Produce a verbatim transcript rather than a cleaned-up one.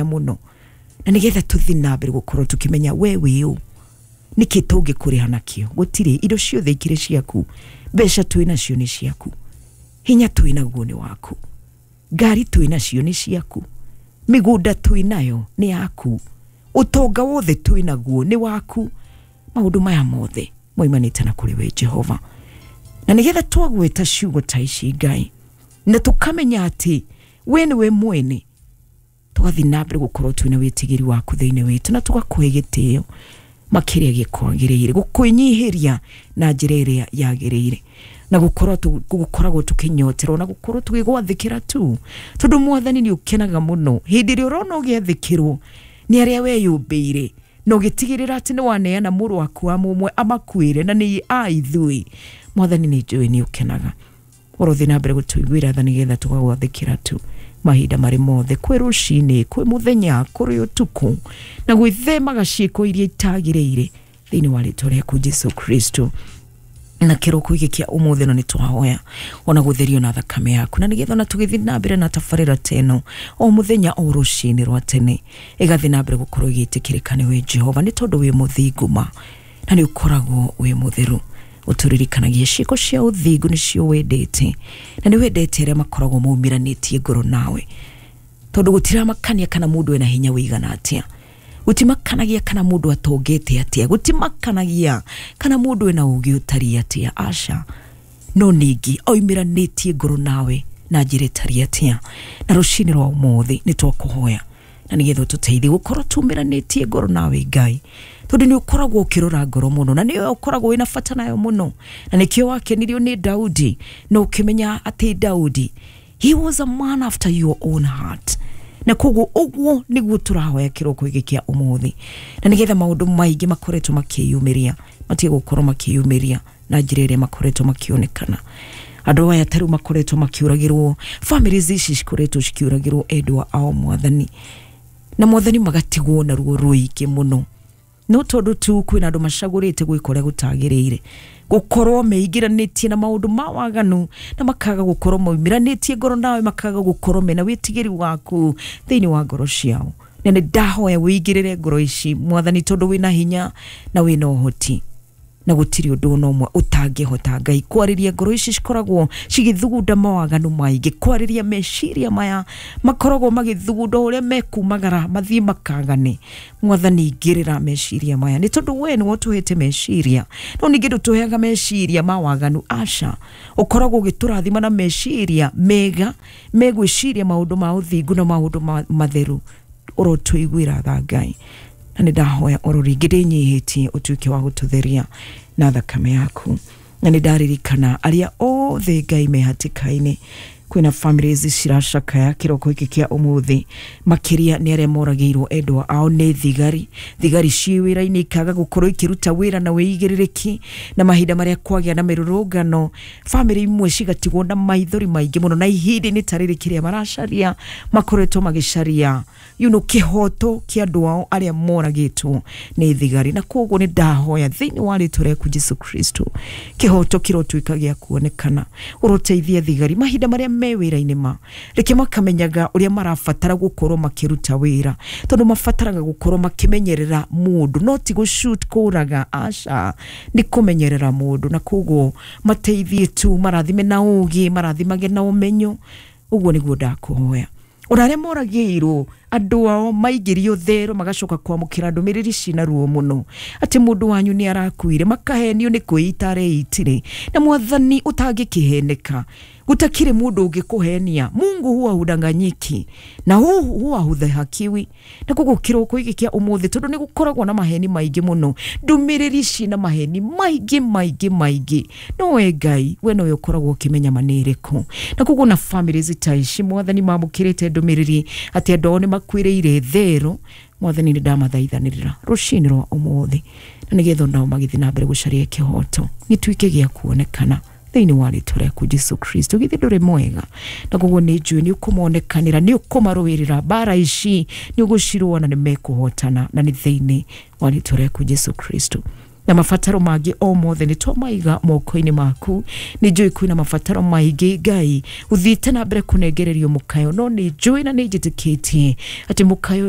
Mũno na nĩgetha tũthiĩ na mbere gũkorwo tũkĩmenya we wĩ ũ, nĩkĩ tũngĩkũrĩha nakĩo. Gũtirĩ, indo ciothe ikĩrĩ ciaku, mbeca twĩ nacio nĩ ciaku, hinya twĩ naguo nĩ waku, ngari twĩ nacio nĩ ciaku, mĩgũnda twĩ nayo nĩ yaku, ũtonga wothe twĩ naguo nĩ waku. Maũndũ maya mothe moimanĩte na kũrĩ we Jehova, na nĩgetha twagweta ciugo ta ici, Ngai, na tũkamenya atĩ we nĩwe mwene, tũgathiĩ na mbere gũkorwo twĩna wĩtigĩri waku thĩinĩ witũ na tũgakũhe gĩtĩo makĩria gĩkwagĩrĩire, gũkwĩnyihĩria na njĩra ĩrĩa yagĩrĩire, na gũkorwo gũkoragwo tũkĩnyoterwo na gũkorwo tũgĩgwathĩkĩra tu, tondũ Mwathani nĩ ũkenaga mũno hĩndĩ ĩrĩa ũrona ũgĩathĩkĩrwo nĩ arĩa weyũmbĩire na ũgĩtigĩrĩra atĩ nĩ waneana mũrũ waku wa mũmwe amakuĩre na nĩ a ithuĩ. Mwathani, nĩ njũĩ nĩ ũkenaga. Ũrothiĩ na mbere gũtũiguĩra tha nĩgetha tũgagwathĩkĩra tu mahinda marĩ mothe, kwĩ rũcinĩ, kwĩ mũthenya, kũrĩ ũtukũ, na gwĩthemaga ciĩko iria itagĩrĩire thĩinĩ wa rĩtwa rĩaku Jesu Kristo. Na kĩroko gĩkĩ kĩa ũmũthĩ no nĩ twahoya ona gũtherio na thakame yaku, na nĩgetha ona tũgĩthiĩ na mbere na tabarĩra ta ĩno o mũthenya o rũcinĩ rwa tene, ĩgathiĩ na mbere gũkorwo ĩgĩtĩkĩrĩka nĩwe Jehova, nĩ tondũ wĩ mũthingu ma na nĩ ũkoragwo wĩ mũtheru. Ũtũririkanagia ciĩko cia ũthingu nĩcio wendete, na nĩ wendete arĩa makoragwo maumĩranĩtie ngoro nawe, tondũ gũtiramakania kana mũndũ ena hinya wĩigana atĩa, gũtimakanagia kana mũndũ atongete atĩa, gũtimakanagia kana mũndũ ena ũgĩ ũtariĩ atĩa, aca, no ningĩ oimĩranĩtie ngoro nawe na njĩra ĩtariĩ atĩa. Na rũcinĩ rwa ũmũthĩ nĩ twakũhoya na nĩgetha ũtũteithie gũkorwo tumĩranĩtie ngoro nawe, Ngai, tondũ nĩ ũkoragwo ũkĩrora ngoro mũno na nĩwe ũkoragwo wĩna bata nayo mũno, na nĩkĩo wakenirio nĩ Daudi na ũkĩmenya atĩ Daudi, he was a man after your own heart. Na koguo ũguo nĩguo tũrahoya kĩroko gĩkĩ kĩa ũmũthĩ, na nĩgetha maũndũ maingĩ makoretwo makĩyumĩria matige gũkorwo makĩyumĩria na njĩra ĩrĩa makoretwo makĩonekana. Andũ aya ta rĩu makoretwo makĩũragĩrwo, families ici cikoretwo cikiũragĩrwo endwa ao, Mwathani, na Mwathani magatigwo na ruo rũingĩ mũno, no tondũ tu kwĩna andũ macagũrĩte gwĩka ũrĩa gũtagĩrĩire, gũkorwo meingĩranĩtie na maũndũ ma waganu na makaga gũkorwo maumĩranĩtie ngoro nawe, makaga gũkorwo mena wĩtigĩri waku thĩinĩ wa ngoro ciao. Na nĩ ndahoya wĩingĩrĩre ngoro ici, Mwathani, tondũ wĩna hinya na wĩna ũhoti na gũtirĩ ũndũ ona ũmwe ũtangĩhota. Ngai, kwarĩria ngoro ici cikoragwo cigĩthugunda mawaganu maingĩ, kwarĩria meciria maya makoragwo magĩthugunda ũrĩa mekumagara mathiĩ makagane. Mwathani, ingĩrĩra meciria maya, nĩ tondũ we nĩwe ũtũhete meciria, no ningĩ ndũtũheaga meciria ma waganu, aca, ũkoragwo ũgĩtũrathima na meciria mega megwĩciria maũndũ ma ũthingu na maũndũ ma- matheru. Ũrotũiguĩra tha, Ngai, na nĩ ndahoya oro rĩngĩ ndĩnyihĩtie ũtuĩke wa gũtũtheria na thakame yaku. Na nĩ ndaririkana arĩa othe, Ngai, me hatĩka-inĩ. Kwĩna families ciracakaya kĩroko gĩkĩ kĩa ũmũthĩ, makĩria nĩ arĩa moragĩirwo endwa ao nĩ thigari. Thigari ciĩ wĩra-inĩ ikaga gũkorwo ikĩruta wĩra na wĩigĩrĩrĩki, na mahinda marĩa kwagĩa na mĩrũrũngano, famĩlĩ imwe cigatigwo na maithori maingĩ mũno, na ihinda-inĩ ta rĩrĩ kĩrĩa maracaria, makoretwo magĩcaria you know, kĩhoto kĩa andũ ao arĩa moragĩtwo nĩ thigari. Na koguo nĩ ndahoya thĩinĩ wa rĩtwa rĩaku Jesu Kristo, kĩhoto kĩrotuĩka gĩa kuonekana. Ũroteithia thigari mahinda marĩa me wĩra-inĩ, ma reke makamenyaga ũrĩa marabatara gũkorwo makĩruta wĩra, tondũ mabataraga gũkorwo makĩmenyerera mũndũ, no ti gũshoot, kũraga, aca, nĩ kũmenyerera mũndũ. Na koguo mateithie tu, marathime na ũgĩ, marathimage na ũmenyo. Ũguo nĩguo ndakũhoya. Ona arĩa moragĩirwo andũ ao maingĩrio thero, magacoka kwamũkĩra ndũmĩrĩri cina ruo mũno atĩ mũndũ wanyu nĩ arakuire, makahenio nĩ kwĩita areitire. Na Mwathani, ũtangĩkĩheneka, gutakire mũndũ ũngĩkũhenia. Mungu huwa hudanganyiki na hu huwa hudhihakiwi. Na koguo kĩroko gĩkĩ kĩa ũmũthĩ, tondũ nĩ gũkoragwo na maheni maingĩ mũno, ndũmĩrĩri cina maheni maingĩ maingĩ maingĩ, no we Ngai, we nowe ũkoragwo ũkĩmenya ma nĩ ĩrĩkũ. Na koguo na families ta ici, Mwathani, mamũkĩrĩte ndũmĩrĩri atĩ andũ ao nĩ makuĩrĩire thero, Mwathani, nĩ ndamathaithanĩrĩra rũcinĩ rwa ũmũthĩ, na nĩgetha onao magĩthiĩ na mbere gũcaria kĩhoto gĩtuĩke gĩa kuonekana thĩinĩ wa rĩtwa rĩaku Jesu Kristo. Githĩ ndũrĩ mwega? Na koguo nĩ njũĩ nĩ ũkũmonekanĩra, nĩ ũkũmarũĩrĩra mbara ici, nĩ ũgũcirũa na nĩ mekũhotana, na nĩ thĩinĩ wa rĩtwa rĩaku Jesu Kristo. Na mabataro mangĩ o mothe nĩ twamaiga moko-inĩ maku. Nĩ njũĩ kwĩna mabataro maingĩ, Ngai, ũthiĩte na mbere kũnengererio mũkayo, no nĩ njũĩ na nĩ njĩtĩkĩtie atĩ mũkayo ũyũ